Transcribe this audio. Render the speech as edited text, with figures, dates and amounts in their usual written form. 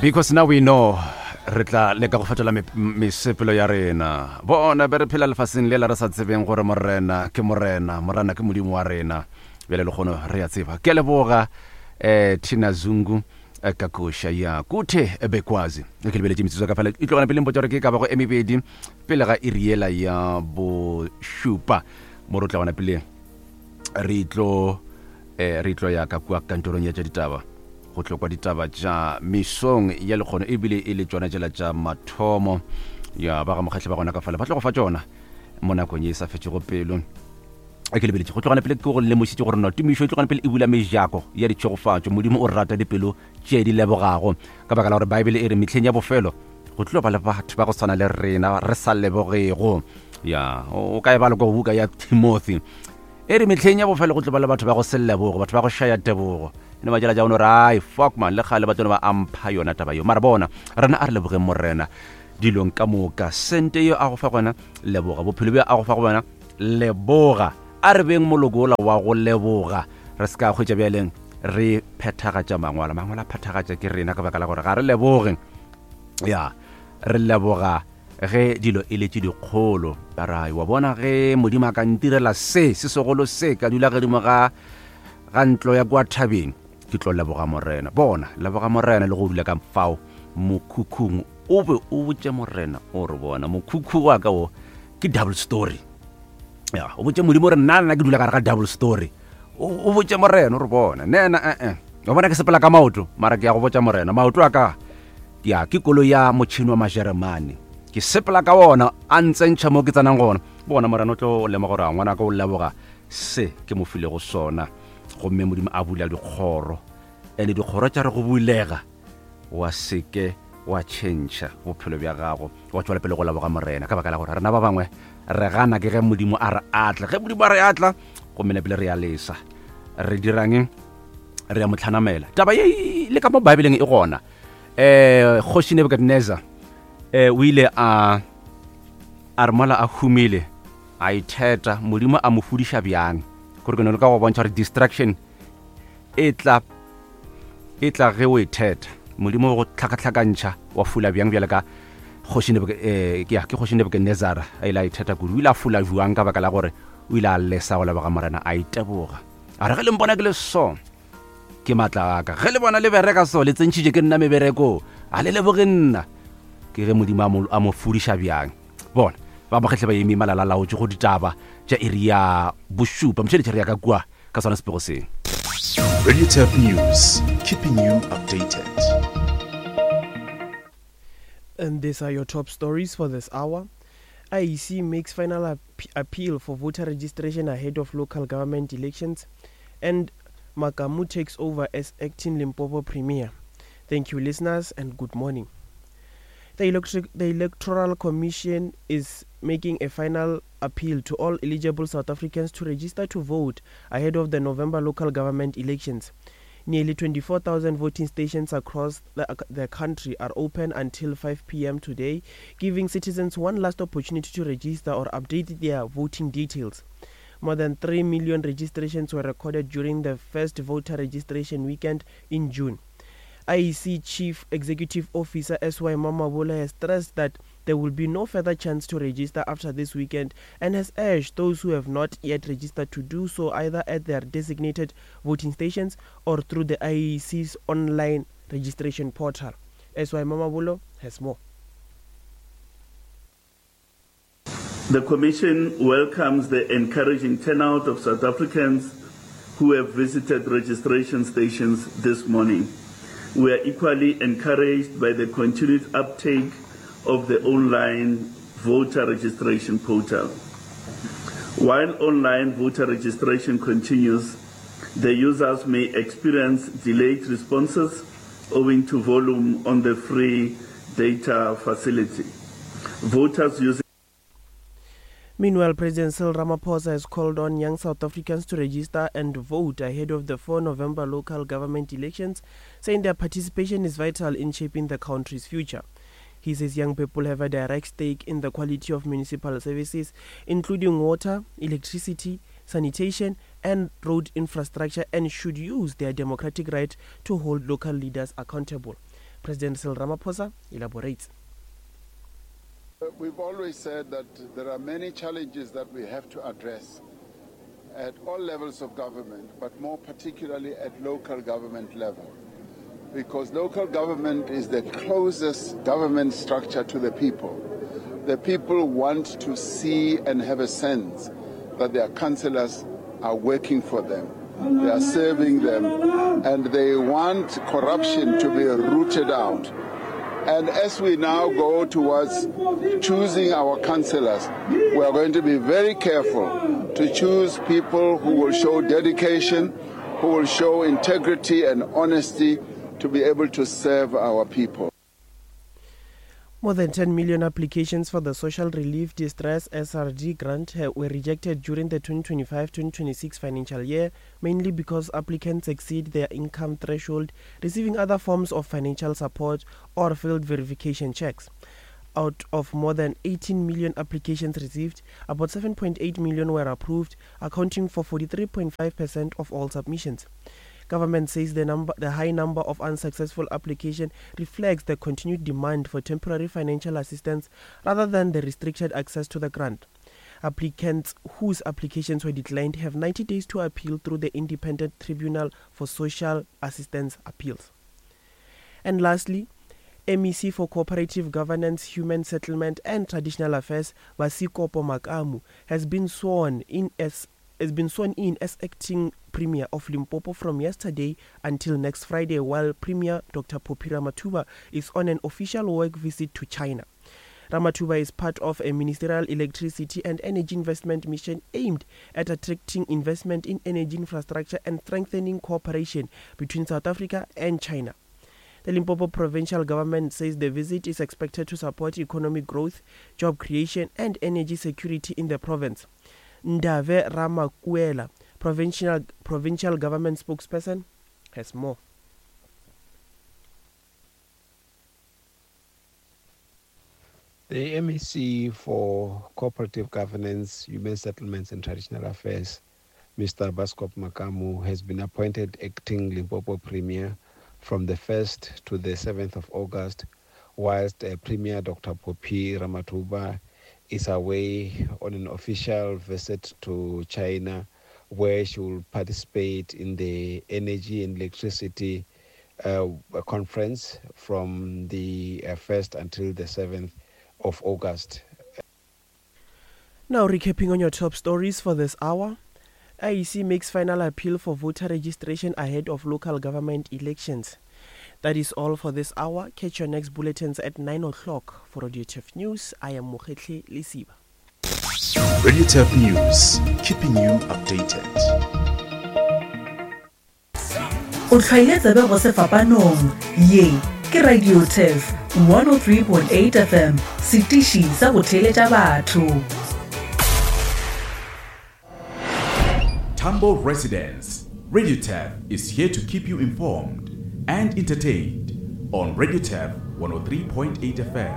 Because now we know re tla leka go fetola mesepelo ya rena. Bona be re phela lefaseng lela re sa tsebeng gore Morena ke Morena, Morena ke Modimo wa rena. Bjale lekgono re a tseba. Ke a leboga eh Tina Zungu eh, ka koša ya Kuthe Bekwazi. Ke lebeletše metsotso ka fela e tlogana pele mpotša gore ke ka bago e mebedi pele ga iri yela ya bošupa mo re tla gona pele re tlo eh, re tlo ya ka kua kantorong ya tša ditaba go tlo kwa ditaba tša mesong ya lekgono ebile e le tšona tšela tša mathomo ya ba ga mokgatlhe ba gona ka fale ba tlo go fa tšona mo nakong ye e sa fetšego pelo a ke lebeletše go tlogana pele ke go lemošitše gore no tumišo e tlogana pele e bula mejako ya ditšhegofatšo modimo o rata dipelo tše di lebogago ka baka la gore baebele e re mehleng ya bofelo go tlo ba le batho ba go tshwana le rena re sa lebogego ya o ka e bala ko buka ya timothy e re mehleng ya bofelo go tlo ba le batho ba go se lebogo batho ba go šaya tebogo ne ba jela ja ono re ai fuck man le kgale ba tsone ba ampha yona taba yo mara bona rena a re lebogeng morena dilong ka moka sente yo a go fa gona leboga bophelo bjo a go fa go bona leboga a re beng moloko ola wa go leboga re se ka hwetša bjaleng re phethagatša mangwalo mangwalo a phethagatša ke rena ka baka la gore ga re leboge ya re leboga Ge dilo e le tše dikgolo, ba ra, wa bona, ge Modimo a ka ntirela se, se segolo se, ka dula godimo ga, ga ntlo ya kua thabeng, ke tlo leboga Morena. Bona, leboga Morena le go dula ka fao mokhukhung, o be o botše Morena, o re, bona, mokhukhu wa ka wo ke double story. Ya, o botše Modimo gore nna nna ke dula gare ga double story. O, o botše Morena, o re, bona, nena, eh, eh. Wa bona ke sepela ka maoto, mara ke ya go botša Morena, maoto a ka, Ya, ke koloi ya motšhini wa Majeremane. Ke sepela ka wona, a ntsentšha mo ke tsenang gona. Bona, Morena o tlo lemoga gore a ngwanaka o leboga se ke mo filego sona. Gomme Modimo a bula dikgoro. Ene dikgoro tša re go bulega, wa seke wa tšhentšha bophelo bja gago, wa tšwela pele go leboga Morena. Ka baka la gore rena ba bangwe re gana ke ge Modimo a re atla. Ge Modimo a re atla, gomme nepile re a lesa. Re dirang? Re a mo tlhanamela. Taba ye le ka mo Bibeleng e gona. eh kgoši Nebuchadnezzar eh o ile a a re mola a humile a itheta modimo a mo fudiša bjang gore ke no le ka go bontšha gore distraction e tla e tla ge o itheta modimo go tlhakatlhakantšha wa fula bjang bjale ka kgoši eh, ke ke kgoši Nebuchadnezzar a ile a itheta kudu o ile a fula jwang ka baka la gore o ile a lesa go leboga morena a iteboga a re ge le mpona ke le so Ke maatla a ka. Ge le bona le bereka so, le tsentšhitše ke nna mebereko. A le leboge nna. Ke ge Modimo a mo, a mo fudiša bjang. Bona, ba mokgehle ba eme malala laotše go ditaba tša iri ya bošupa. Mošeletše re ya ka kua ka sona sepego se. Radio Turf News, keeping you updated. And these are your top stories for this hour. IEC makes final ap appeal for voter registration ahead of local government elections. And Makamu takes over as acting Limpopo Premier. Thank you, listeners, and good morning. The, electric, the Electoral Commission is making a final appeal to all eligible South Africans to register to vote ahead of the November local government elections. Nearly 24,000 voting stations across the, the country are open until 5 p.m. today, giving citizens one last opportunity to register or update their voting details. More than 3 million registrations were recorded during the first voter registration weekend in June. IEC Chief Executive Officer S.Y. Mamabolo has stressed that there will be no further chance to register after this weekend and has urged those who have not yet registered to do so either at their designated voting stations or through the IEC's online registration portal. S.Y. Mamabolo has more. The Commission welcomes the encouraging turnout of South Africans who have visited registration stations this morning. We are equally encouraged by the continued uptake of the online voter registration portal. While online voter registration continues, the users may experience delayed responses owing to volume on the free data facility. Voters using Meanwhile, President Cyril Ramaphosa has called on young South Africans to register and vote ahead of the 4 November local government elections, saying their participation is vital in shaping the country's future. He says young people have a direct stake in the quality of municipal services, including water, electricity, sanitation, and road infrastructure, and should use their democratic right to hold local leaders accountable. President Cyril Ramaphosa elaborates. We've always said that there are many challenges that we have to address at all levels of government, but more particularly at local government level. Because local government is the closest government structure to the people. The people want to see and have a sense that their councillors are working for them. They are serving them, and they want corruption to be rooted out. And as we now go towards choosing our councillors, we are going to be very careful to choose people who will show dedication, who will show integrity and honesty to be able to serve our people. More than 10 million applications for the Social Relief Distress SRD grant were rejected during the 2025-2026 financial year, mainly because applicants exceed their income threshold, receiving other forms of financial support or failed verification checks. Out of more than 18 million applications received, about 7.8 million were approved, accounting for 43.5% of all submissions. Government says the number, the high number of unsuccessful applications reflects the continued demand for temporary financial assistance rather than the restricted access to the grant. Applicants whose applications were declined have 90 days to appeal through the Independent Tribunal for Social Assistance Appeals. And lastly, MEC for Cooperative Governance, Human Settlement and Traditional Affairs, Basikopo Makamu, has been sworn in as has been sworn in as acting Premier of Limpopo from yesterday until next Friday, while Premier Dr. Phophi Ramathuba is on an official work visit to China. Ramathuba is part of a ministerial electricity and energy investment mission aimed at attracting investment in energy infrastructure and strengthening cooperation between South Africa and China. The Limpopo provincial government says the visit is expected to support economic growth, job creation, and energy security in the province. Ndave Ramakuela, provincial, provincial government spokesperson, has more. The MEC for Cooperative Governance, Human Settlements and Traditional Affairs, Mr. Basikopo Makamu, has been appointed acting Limpopo Premier from the 1st to the 7th of August, whilst uh, Premier Dr. Phophi Ramathuba is away on an official visit to China, where she will participate in the Energy and Electricity uh, conference from the uh, 1st until the 7th of August. Now, recapping on your top stories for this hour. IEC makes final appeal for voter registration ahead of local government elections. That is all for this hour. Catch your next bulletins at 9 o'clock. For Radio Turf News, I am Mokhetle Lesiba. Radio Turf News, keeping you updated. O hlwaile tsebe go sefapanong. Ye ke Radio Turf 103.8 FM, setiši sa go theeletša batho. Tambo Residence, Radio Turf is here to keep you informed and entertained on Radio Turf 103.8 FM.